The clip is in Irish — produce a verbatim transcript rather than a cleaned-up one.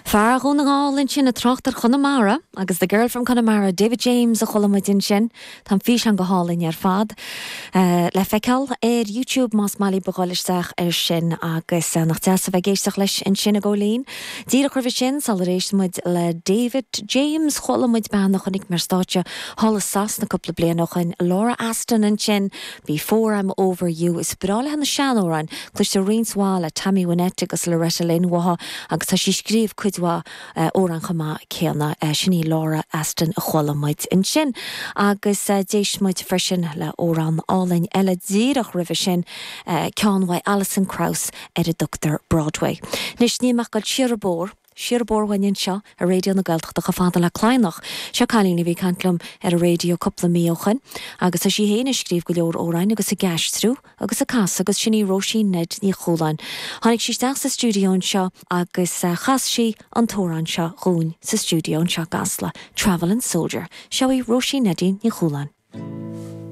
Fear Dhún na nGall ansin ag trácht ar Chonamara agus the girl from Connemara, David James a chuala muid ansin Tá físeán go hálainn ar fad. Uh, le feiceáil ar YouTube más maith libh dul isteach ar sin agus uh, nach deas a bheith ag éisteacht leis ansin a Chóilín. Díreach roimhe sin sular éist muid le David James chuala muid bean a chonaic mé ar stáitse thall i Sasana cúpla bliain ó shin Laura Aston ansin Before I'm Over You is breá léi na seanamhráin, Cloistear roinnt mhaith le Tammy Wynette agus Loretta Lynn uaithi agus tá sí ag scríobh cuid mhaith amhrán chomh maith céanna sin í Laura Aston a chuala muid ansin. agus uh, d'éist muid freisin le amhrán álainn eile díreach roimhe sin uh, ceann uaidh Alison Krauss ar a dtugtar Broadway. Anois níl ach dul siar an bóthar, siar an bóthar uainn anseo ar Raidió na Gaeltachta chomh fada le Cladhnach. Seo cailín a bhí ag caint liom ar an raidió cúpla mí ó shin, agus tá sí féin ag scríobh go leor amhrán agus ag aistriú agus ag casadh agus sin í Róisín Ned Ní Chualáin. Tháinig sí isteach sa stiúideo anseo agus uh, chas sí an t-amhrán seo dhúinn sa stiúideo anseo i gCasla, Travelin' Soldier, Seo í Róisín Neidín Ní Chualáin.